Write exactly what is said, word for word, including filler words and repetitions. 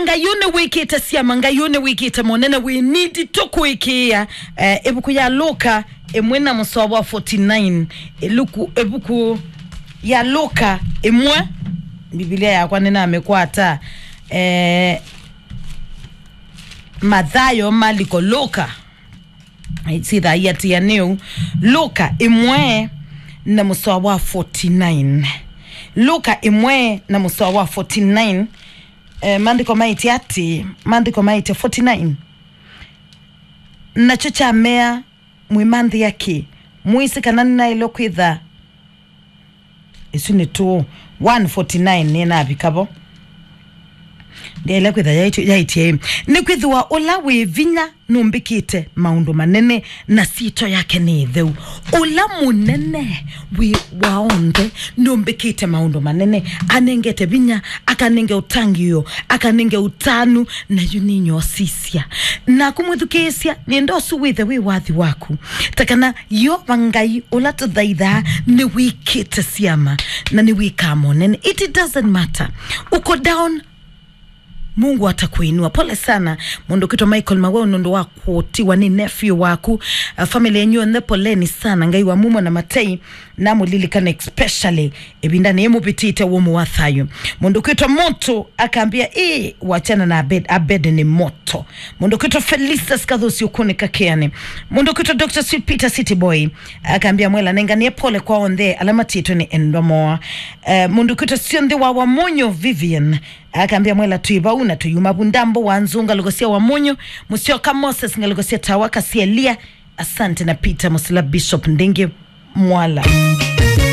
Ngai ũnĩ wĩkĩte syama, Ngai ũnĩ wĩkĩte monene, wĩ nindi tũkũĩkĩĩa. Eh, ĩvuku ya Luka ĩmwe na mũsoa wa forty-nine. Ĩluku, ĩvuku ya Luka ĩmwe, Mbivilia yakwa nĩnamĩkwata. Eh, Mathayo, Maliko, Luka. Sitha iatĩanĩu. Luka ĩmwe na mũsoa wa forty-nine. Luka ĩmwe na mũsoa wa forty-nine. Eh, maandĩko maĩtye atĩ, maandĩko maĩtye forty-nine. Nakyo kyamea, "Mwĩmanthĩa kĩ? Mwĩsĩ kana nĩnaĩle kwĩtha?" Ĩsu nĩ two, one forty-nine nĩnavika vo. Ndyaĩle kwĩtha yaĩtye, yaĩtye, "Nĩkwĩthĩwa ũla wĩ vinya nũmbĩkĩte maũndũ manene, na syĩtwa yake nĩ ĩtheu." Ũla mũnene wĩ wa onthe nũmbĩkĩte maũndũ manene, anengete vinya, akanenge ũtangĩĩo, akanenge ũtanu, na yu nĩnyosisya. Naku mwĩthukĩĩsya, nĩenda ũsu wĩthe wĩ wathi waku. Ta kana Yeova Ngai ũla tũthaithaa nĩwĩkĩte syama na nĩwĩkaa monene. It doesn't matter. Uko down, Mungu atakuinua. Pole sana, mũndũ kwĩtwa Michael Maweu, nũndũ wa kũtiwa nĩ nephew waku. Uh, family yenyu yonthe, poleni sana. Ngai wa mumo na matei, namũlilikane especially ĩvindanĩ yĩmũvĩtĩte wũmũ wa thayũ. Mũndũ kwĩtwa Moto akambia, "Ĩ, wachana na Abed, Abed nĩ moto." Mũndũ kwĩtwa Felicitas Kathusi ũkũnĩka kĩanĩ. Mũndũ kwĩtwa Doctor Sweet Peter City Boy akambia, "Mwela nenganie pole kwa onthe ala matĩtwe nĩ endwa moa." Eh, mũndũ kwĩtwa Sionthe wa Wamonyo Vivian akambia, "Mwela twĩ vau na tũyuma vu ndambo wa nzũ ngalũko sya Wamonyo, Mũsyoka Moses ngalũko sya tawa kasielia." Asante na Peter Musila Bishop Ndingi Mwala.